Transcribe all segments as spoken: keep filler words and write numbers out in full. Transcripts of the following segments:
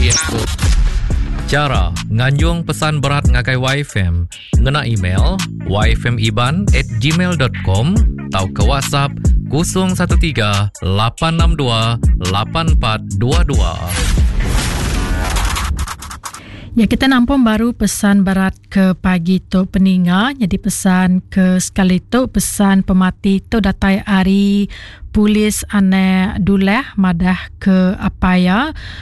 Facebook. Cara nganjung pesan berat ngagai Y F M ngena email y f m iban at gmail dot com atau ke WhatsApp kosong satu tiga lapan enam dua lapan empat dua dua. Ya, kita nampung baru pesan berat ke pagi tu peninga. Jadi pesan ke sekali tu, pesan pemati tu datai ari polis anak Duleh madah ke apa ya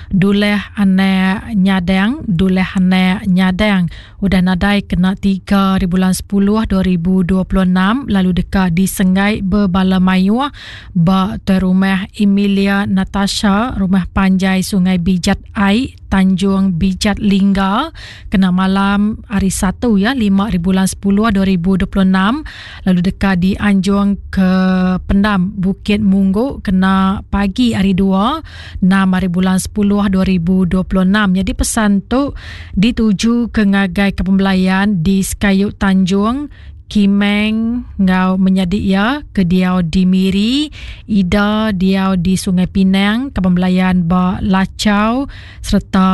Duleh anak Nyadang, Duleh anak Nyadang udah nadai kena tiga hari bulan sepuluh dua ribu dua puluh enam lalu dekat di Senggai berbala mayuh ba tuai rumah Emilia Natasha, rumah panjai Sungai Bijat Ai, Tanjung Bijat Lingga, kena malam hari Satu ya lima hari bulan sepuluh dua ribu dua puluh enam lalu dekat di Anjung ke Pendam Bukit Munggu kena pagi hari dua enam hari bulan sepuluh dua ribu dua puluh enam. Jadi pesan tu dituju ke ngagai kepembelayan di Sekayu Tanjung Kimeng ngau menyadi ia ke diau di Miri, Ida diau di Sungai Pinang, kepembelayan ba Lacau serta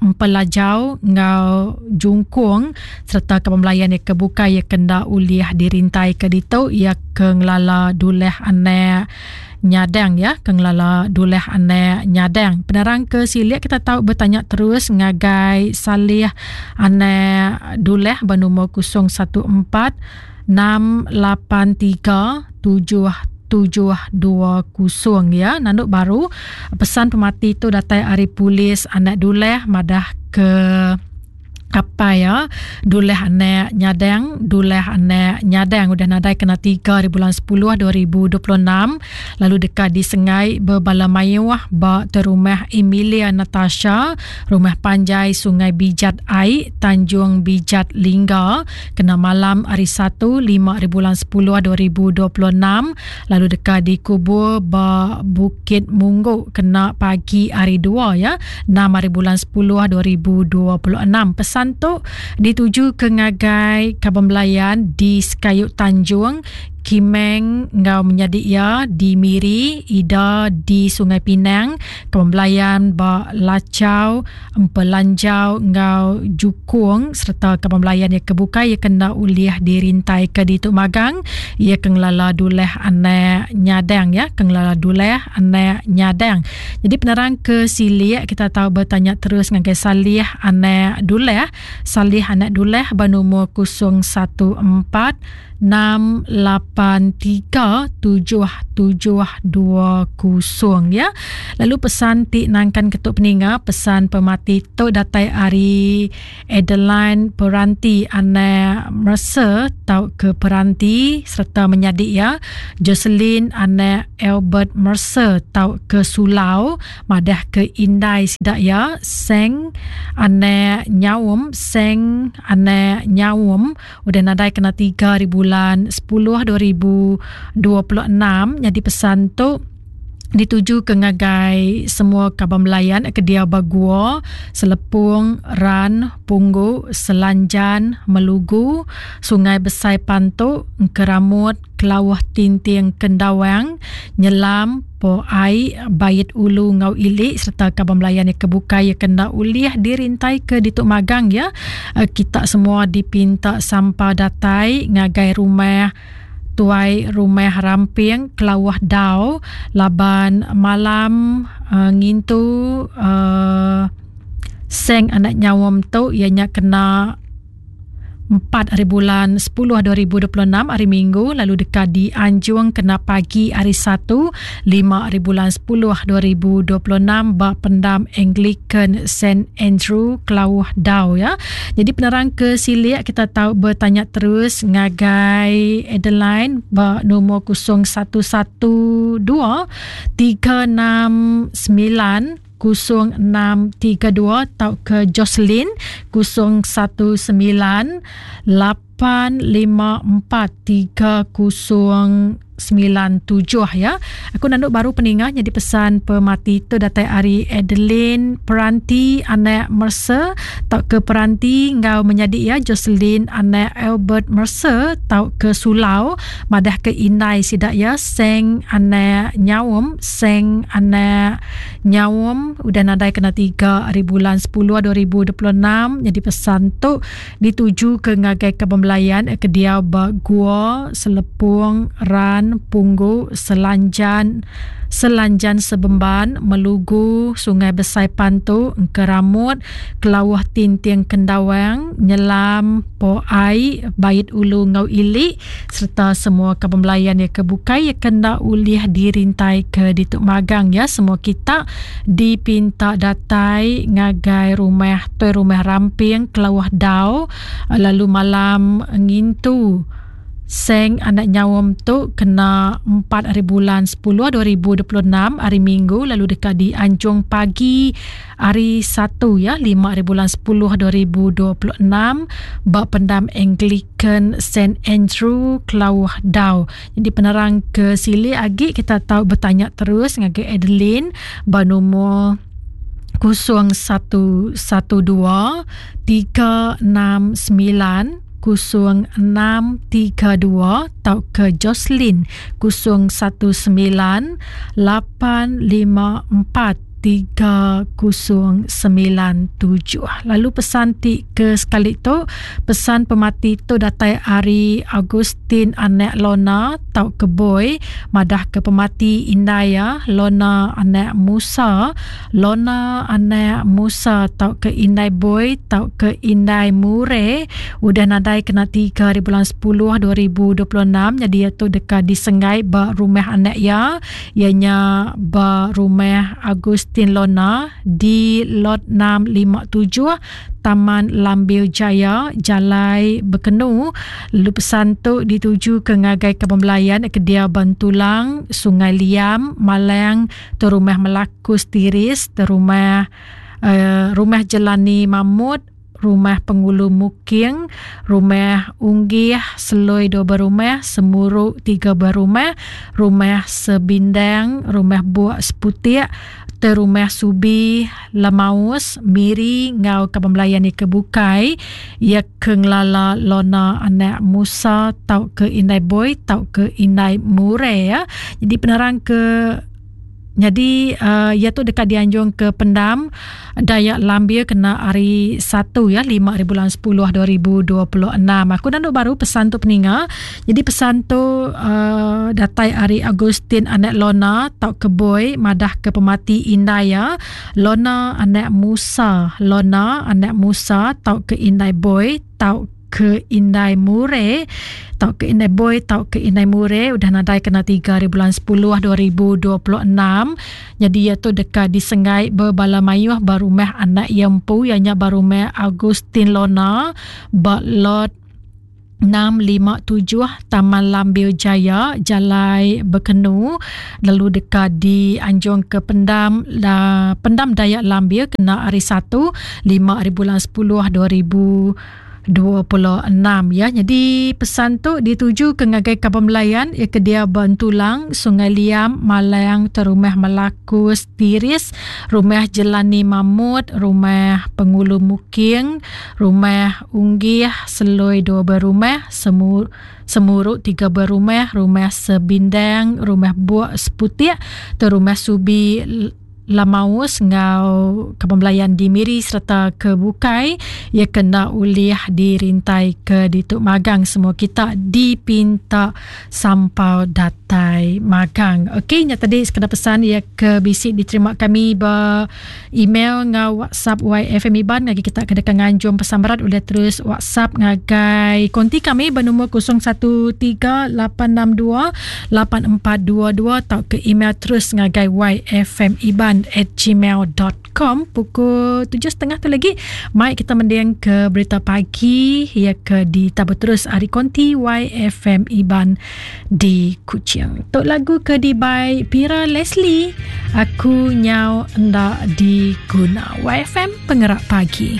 Empelajau ngau Jungkung serta kepembelayan ia ke bukai ia kena uliah dirintai ke ditu ia ke ngelala Duleh anak Nyadang ya, ke ngelala Duleh anak Nyadang. Penerang ke silik kita tahu bertanya terus ngagai Salih anak Duleh bernombor kosong satu empat enam lapan tiga tujuh tujuh dua kosong ya. Nanduk baru pesan pemati tu datai ari polis anak Duleh madah ke apa ya Duleh anak Nyadang, Duleh anak Nyadang udah nadai kena tiga hari bulan sepuluh dua ribu dua puluh enam lalu dekat di Sengai berbala mayuh ba rumah Emilia Natasha, rumah panjai Sungai Bijat Ai, Tanjung Bijat Lingga, kena malam hari Satu lima hari bulan sepuluh dua ribu dua puluh enam lalu dekat dikubur ba Bukit Mungguk kena pagi hari dua ya enam hari bulan sepuluh dua ribu dua puluh enam. Pesan tu dituju ke ngagai Kaban Belayan di Sekayu Tanjung Kimeng ngau menyadi ia di Miri, Ida di Sungai Pinang, Kaban Belayan ba Lacau, Empelanjau ngau Jukung serta Kaban Belayan ia kebukai ia kena uliah dirintai ke ditu magang ia ke ngelala Duleh anak Nyadang ya, ke ngelala Duleh anak Nyadang. Jadi penerang ke silik kita tahu bertanya terus ngagai Salih anak Duleh. Salih anak Duleh bernombor kosong satu empat enam lapan tiga tujuh tujuh dua kosong ya. Lalu pesan ti nangkan ketuk peninga, pesan pemati tu datai ari Adeline Peranti anak Mercer tau ke Peranti serta menyadi ya Jocelyn anak Albert Mercer tau ke Sulau madah ke Indai sidak ya Seng anak Nyaum, Seng anak Nyaum udah nadai kena tiga hari bulan sepuluh dua ribu dua puluh enam. Jadi pesan tu dituju ke ngagai semua kaban belayan ke dia Bagua, Selepung, Ran, Punggu, Selanjan, Melugu, Sungai Besai Pantuk, Keramut, Kelawah Tinting Kendawang, Nyelam, Po Ai, Bait Ulu Ngau Ilik serta kaban belayan yang kebukai yang kena uliah dirintai ke dituk magang ya. Kita semua dipinta sampah datai ngagai rumah Tuai Rumah Ramping Kelawah Dau laban malam uh, ngintu uh, Seng anak Nyawam tu ianya kena empat hari bulan sepuluh dua ribu dua puluh enam hari Minggu lalu dekat di Anjung kena pagi hari Satu lima hari bulan sepuluh dua ribu dua puluh enam ba Pendam Anglican Saint Andrew Kelauh Dau ya. Jadi penerang ke silik kita tahu bertanya terus ngagai Adeline ba nombor kosong satu satu dua tiga enam sembilan kosong enam tiga dua atau ke Jocelyn kosong satu sembilan lapan lima empat tiga kosong sembilan tujuh ya. Aku nanduk baru peningah jadi pesan pemati tu datai ari Adeline Peranti anak Mercer tau ke Peranti ngau menyadi ya Jocelyn anak Albert Mercer tau ke Sulau madah ke indai sidak ya Seng anak Nyaum Seng anak Nyaum udah nadai kena tiga hari bulan sepuluh dua ribu dua puluh enam. Jadi pesan tu dituju ke ngagai ke pembelayan ke dia ba Gua Selepung Ran Punggu Selanjan Selanjan Sebemban Melugu Sungai Besai Pantu Engkeramut Kelawah Tinting Kendawang Nyelam Po Ai Bait Ulu Ngau Ili serta semua ke pembelayan ya ke bukai ya kena ulih dirintai ke dituk magang ya. Semua kita dipinta datai ngagai rumah toi rumah Ramping Kelawah Dau lalu malam ngintu Seng anak Nyaum tu kena empat hari bulan sepuluh dua ribu dua puluh enam hari Minggu lalu dekat di Anjung pagi hari Satu ya lima hari bulan sepuluh dua ribu dua puluh enam ba pendam Anglican Saint Andrew Kelawah Dau. Jadi penerang ke sili agi kita tahu bertanya terus ngagai Adeline ba nombor kosong satu satu dua tiga enam sembilan kosong enam tiga dua atau ke Jocelyn kosong satu sembilan lapan lima empat tiga kosong sembilan tujuh. Lalu pesan ti ke sekali tu pesan pemati tu datai ari Agustin anak Lona tau ke Boy madah ke pemati Indaya Lona anak Musa Lona anak Musa tau ke Indai Boy tau ke Indai Mure udah nadai kena tiga hari bulan sepuluh dua ribu dua puluh enam. Jadi ia tu dekat disenggai ba rumah anak ya ianya ba rumah Agustin Lona di lot enam lima tujuh Taman Lambil Jaya Jalai Bekenu. Lalu pesan tu dituju ke ngagai ke pembelayan ke dia Bantulang Sungai Liam Malang tu rumah Melakus Tiris tu rumah uh, rumah Jelani Mahmud rumah Pengulu Muking, rumah Unggih, Seloi dua berumah, Semuruk tiga berumah, rumah Sebindang, rumah Buak Seputik, rumah Subi, Lemaus, Miri, ngau ke pembelayan ni kebukai, ia ke ngelala Lona anak Musa, tau ke Indai Boy, tau ke Indai Mure ya. Jadi penerang ke jadi uh, ia tu dekat dianjung ke pendam Dayak Lambir kena hari Satu ya lima hari bulan sepuluh dua ribu dua puluh enam. Aku nanduk baru pesan tu peninga. Jadi pesan tu uh, datai hari Agustin anak Lona tau ke Boy madah ke pemati Indaya Lona anak Musa Lona anak Musa tau ke Indai Boy tau ke Indai Mure tau ke Indai Boy tau ke Indai Mure udah nadai kena tiga hari bulan sepuluh dua ribu dua puluh enam. Jadi ia tu dekat disenggai berbala mayuh barumah anak yempu ianya barumah Agustin Lona ba lot enam lima tujuh Taman Lambil Jaya Jalai Bekenu lalu dekat di Anjung ke pendam la, pendam Dayak Lambir kena hari Satu lima hari bulan sepuluh dua ribu dua puluh enam ya. Jadi pesan tu dituju ke ngagai kapal melayan ya ke dia Bantulang Sungai Liam Malang Terumah Melakus Tiris rumah Jelani Mahmud rumah Pengulu Muking rumah Unggih Seloi dua berumah Semur Semuruk tiga berumah rumah Sebindang rumah Buak Seputik terumah Subi Lamaus ngau kepembelayan di Miri serta ke Bukai ia kena ulih dirintai ke dituk magang. Semua kita dipinta sampau datai magang. Okey, nya tadi sekadar pesan ia ke bisik diterima kami ber email ngau WhatsApp Y F M Iban lagi kita kedekan nganjung pesan berat boleh terus WhatsApp ngagai konti kami bernombor kosong satu tiga lapan enam dua lapan empat dua dua atau ke email terus ngagai Y F M Iban at gmail dot com. Pukul tujuh setengah tu lagi mai kita mendiang ke berita pagi ya ke di tabur terus hari konti Y F M Iban di Kuching. Tok lagu ke di by Pira Leslie aku nyau ndak diguna. Y F M Pengerak Pagi.